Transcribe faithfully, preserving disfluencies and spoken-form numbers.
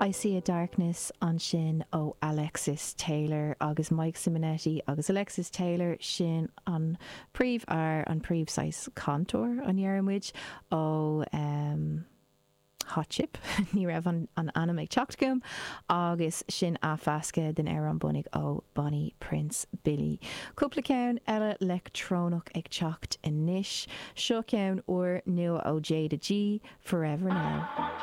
I See a Darkness ansin ó Alexis Taylor agus Mike Simonetti agus Alexis Taylor sin an príomhfhear an príomh cainteoir an ndéarfaidh muid ó um, Hot Chip ní raibh an, an ainm ag teacht chugam agus sin athmheascadh den amhrán bunaidh ó Bonnie Prince Billy. Cúpla ceann eile leictreonach ag teacht anois, seo ceann úr nua ó Jayda G Forever Now.